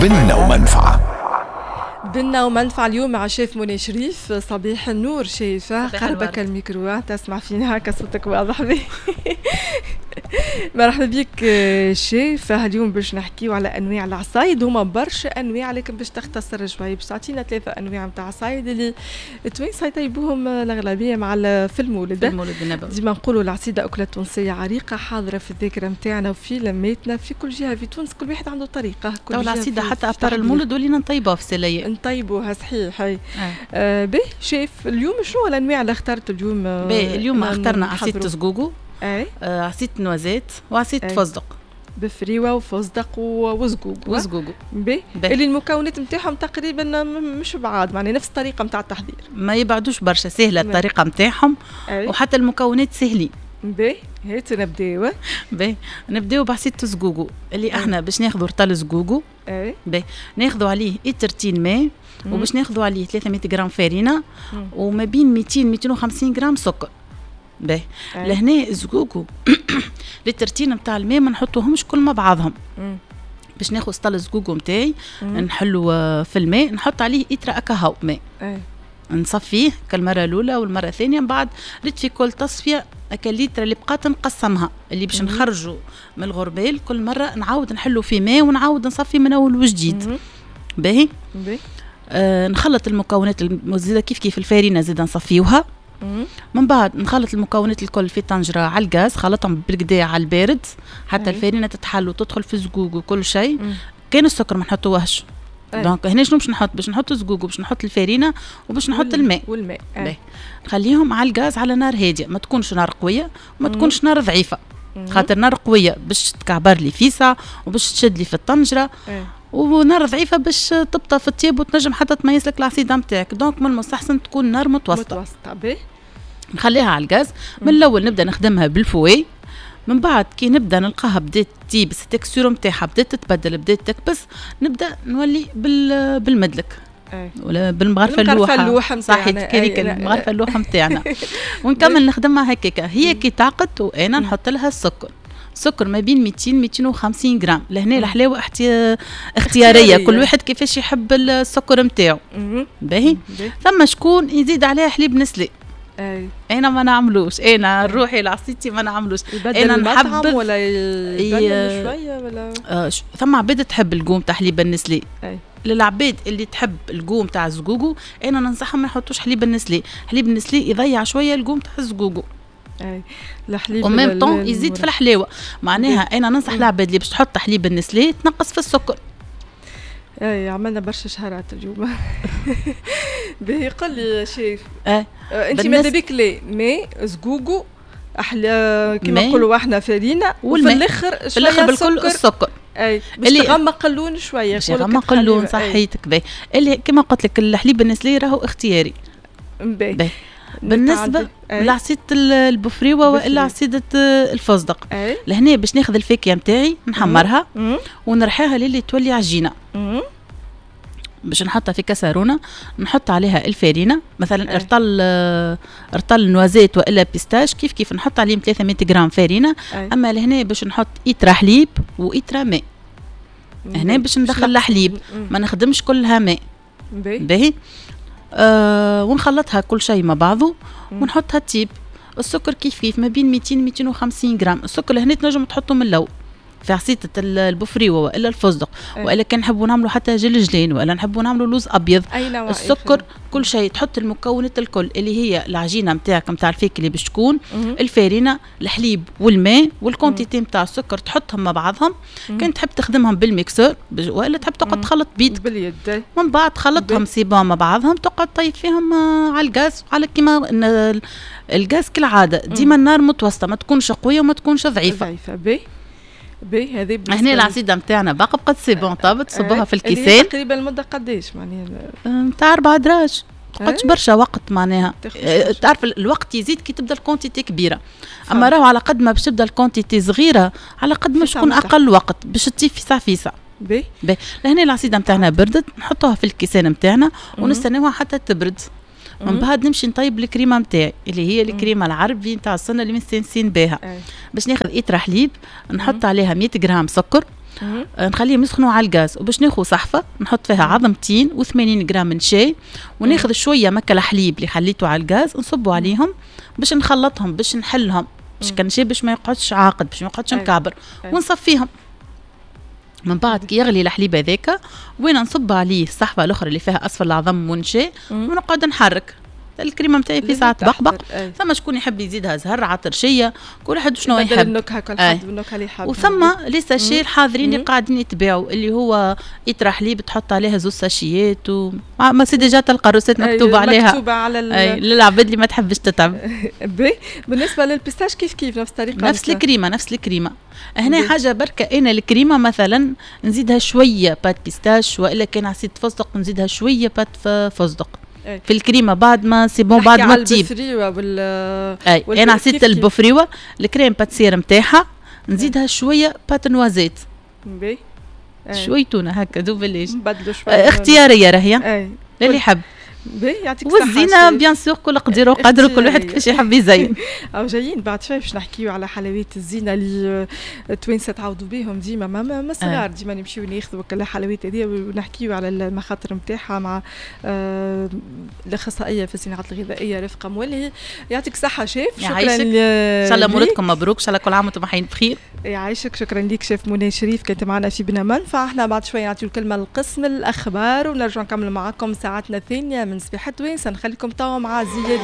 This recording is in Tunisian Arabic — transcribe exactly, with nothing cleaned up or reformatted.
بنة ومنفعة. بنة ومنفعة اليوم مع شيف منى شريف. صباح النور شيف، قربك الميكرو تسمع فينا هكا صوتك واضح بي. مرحبا بك شيف. اليوم باش نحكيو على انواع العصايد، هما برشا انواع لكن باش تختصر شوي باش تعطينا ثلاثة انواع نتاع عصايد اللي التوانسة يطيبوهم الاغلبية مع في المولد. في المولد النبوي ديما نقولوا العصيده اكله تونسية عريقة حاضره في الذاكرة نتاعنا وفي لماتنا في كل جهة في تونس، كل واحد عنده طريقه. كل العصيده حتى à part المولد ولينا نطيبوها في سلايه، نطيبوها صحيح. هاي آه. باهي شيف، اليوم شنو الانواع اللي اخترت اليوم؟ باهي اليوم اخترنا عصيده زقوقو، اي آه عصيده noisette وعصيده فستق. بفريوه وفستق وزقوق. وزقوق باهي، اللي المكونات نتاعهم تقريبا مش بعاد، معناها نفس الطريقة نتاع التحضير، ما يبعدوش برشا، سهلة الطريقة نتاعهم وحتى المكونات سهلين. باهي هات نبداو. باهي نبداو بعصيده زقوقو اللي احنا باش ناخذوا رطل زقوقو. اي باهي ناخذوا عليه إترتين ماء، وباش ناخذوا عليه ثلاثمية غرام فرينه وما بين ميتين ميتين وخمسين غرام سكر. باهي لهنا الزقوقو لترتين نتاع الماء ما نحطوهمش كل مع بعضهم. باش ناخذ سطل الزقوقو نتاعي نحلو في الماء، نحط عليه إترا أكاهو ماء، نصفيه كالمره الاولى والمرة الثانية، من بعد ريت في كل تصفية هكا الليتر اللي بقات نقسمها اللي باش نخرجوا من الغربال كل مرة نعاود نحلو في ماء ونعاود نصفي من اول وجديد. باهي آه نخلط المكونات زيادة كيف كيف الفارينه زيادة نصفيوها. من بعد نخلط المكونات الكل في طنجره على الغاز، خلطهم بالكدا على البارد حتى الفارينه تتحل وتدخل في الزقوق وكل شيء. كان السكر ما نحطوهش. donc هنا شنو باش نحط؟ باش نحط الزقوق وباش نحط الفارينه وباش نحط الماء. والماء باهي نخليهم على الغاز على نار هادية، ما تكونش نار قوية وما تكونش نار ضعيفة، خاطر نار قوية باش تكعبر لي فيسع وباش تشد لي في الطنجره، ونار ضعيفة باش تبطى في الطياب وتنجم حتى تميز لك العصيده نتاعك. donc من المستحسن تكون نار متوسطه. متوسطه باهي نخليها على الغاز. من الاول نبدا نخدمها بال fouet، من بعد كي نبدا نلقاها بدات تيبس ال texture نتاعها بدات تتبدل بدات تكبس، نبدا نولي بال بالمدلك أي. ولا بالمغرفه اللوحة صحيح كذيك المغرفه اللوحة نتاعنا ونكمل نخدمها هكاكا. هي كي تعقد وانا نحط لها السكر، سكر ما بين ميتين ميتين وخمسين غرام. لهنا الحلاوة احتي... اختيارية، كل واحد كيفاش يحب السكر نتاعو. باهي ثم شكون يزيد عليها حليب نسلي. أي. انا ما نعملوش، انا روحي لعصيتي ما نعملوش. انا نحب ولا يبدل شوية ولا آه ش... ثم عباد تحب ال goût تاع حليب النسلي. أي. للعباد اللي تحب ال goût تاع الزقوقو انا ننصحهم ما يحطوش حليب النسلي. حليب النسلي يضيع شوية ال goût تاع الزقوقو. اي الحليب و même temps يزيد في الحلاوة. معناها انا ننصح العباد اللي باش تحط حليب النسلي تنقص في السكر. اي عملنا برشا شهرات اليوم. باهي قل لي شيف، اه انت ماذا بك لي مي زقوقو احلى كيما نقولوا احنا فرينه، وفي الاخر في الاخر بالكل السكر. اي باش تغمق اللون شوية، باش تغمق اللون صحيتك. باهي اللي كيما قلت لك الحليب النسلي راهو اختياري. باهي بالنسبة لعصيده البفريوه والا عصيده الفستق، لهنا باش ناخذ الفاكهة نتاعي نحمرها ونرحيها للي تولي عجينه. باش نحطها في كسرونه، نحط عليها الفارينه مثلا ارطل ارطل noisette والا pistache كيف كيف نحط عليهم ثلاثمية غرام فارينه. اما لهنا باش نحط ايترا حليب وايترا ماء. هنا باش ندخل الحليب ما نخدمش كلها ماء. باهي آه ونخلطها كل شيء مع بعضه ونحطها تيب. السكر كيف كيف ما بين ميتين ميتين وخمسين غرام. السكر لهنا تنجم تحطه من الاول في عصيدة البفريوه والا الفستق، والا كان نحبوا نعملوا حتى جلجلين والا نحبوا نعملوا لوز ابيض. السكر كل شيء تحط المكونات الكل اللي هي العجينة نتاعك نتاع الفيك اللي باش تكون، الفارينه، الحليب والماء وال quantité نتاع السكر تحطهم مع بعضهم. كان تحب تخدمهم بال mixeur والا تحب تقعد تخلط بيدك باليد، من بعد تخلطهم c'est bon مع بعضهم تقعد طيب فيهم على الغاز، على كيما الغاز كالعادة ديما النار متوسطه، ما تكونش قوية وما تكونش ضعيفة. ضعيفة باهي باهي. هذه هنا العصيده نتاعنا باقي بقات c'est bon طابت، تصبوها في الكيسان. تقريبا المدة قداش معناها؟ نتاع اربع دراج، تقعدش برشا وقت معناها. تعرف الوقت يزيد كي تبدا ال quantité كبيرة، اما راهو على قد ما باش تبدا ال quantité صغيرة على قد ما تكون اقل وقت باش تطيب فيسع فيسع. باهي باهي. لهنا العصيده نتاعنا بردت، نحطوها في الكيسان نتاعنا ونستناوها حتى تبرد. من بعد نمشي نطيب الكريمة نتاعي اللي هي الكريمة العربي نتاع السنة اللي مستانسين بها. باش ناخذ ايترا حليب نحط عليها مية غرام سكر، آه، نخليهم يسخنوا على الغاز، وباش ناخذ صحفه نحط فيها عظمتين وثمانين غرام نشا، وناخذ شوية مكة الحليب اللي خليته على الغاز نصبوا عليهم باش نخلطهم، باش نحلهم، باش كان شي باش ما يقعدش عاقد، باش ما يقعدش مكعبر، ونصفيهم. من بعد كي يغلي الحليب هذاك وين نصب عليه الصحفه الاخرى اللي فيها اصفر العظم ونشا، ونقعد نحرك الكريمة نتاعي في ساعة بقبق. ثم شكون يحب يزيدها زهر عطرشيه، كل واحد شنو يحب النكهه، كل حد بالنكهه اللي يحب. وثم les sachets الحاضرين اللي قاعدين يتباعوا، اللي هو يطرح حليب تحط عليها زوز ساشيات و ما c'est déjà تلقى recette مكتوبة عليها، مكتوبة على ال... للعباد اللي ما تحبش تتعب. بالنسبة لل pistache كيف كيف نفس الطريقه؟ نفس الكريمه، نفس الكريمه. هنا حاجة بركه، انا الكريمة مثلا نزيدها شوية pâte pistache، والا كان عصيدة فستق نزيدها شوية pâte فستق في الكريمة بعد ما c'est bon، بعد ما تطيب. البفريوه وال اي، انا عصيدة البفريوه ال crème pâtissière نتاعها نزيدها شوية pâte noisette، شوية تونه هكا دوبلاش. نبدلوا شويه. اختيارية راهي، للي يحب. باهي، يعطيك الصحة. والزينة bien sûr كل قدير وقدر، كل واحد كيفاش يحب يزين. أو جايين بعد شوي باش نحكيو على حلويات الزينة اللي التوانسة تعودوا بهم ديما ما, ما صغار، ديما نمشيو ناخذوا كل الحلويات هذه، ونحكيو على المخاطر نتاعها مع آه الاخصائية في الصناعات الغذائية رفقة مولهي. يعطيك الصحة شيف. شكرا. ان شاء الله مولدكم مبروك، ان شاء الله كل عام وانتم حيين بخير. يعيشك، شكرا لك شيف منى شريف كانت معنا في بنا منفعة. احنا بعد شوي نعطيو الكلمة لقسم الأخبار ونرجع نكمل معكم ساعتنا الثانية من صباح توانسة. نخليكم توا مع زياد.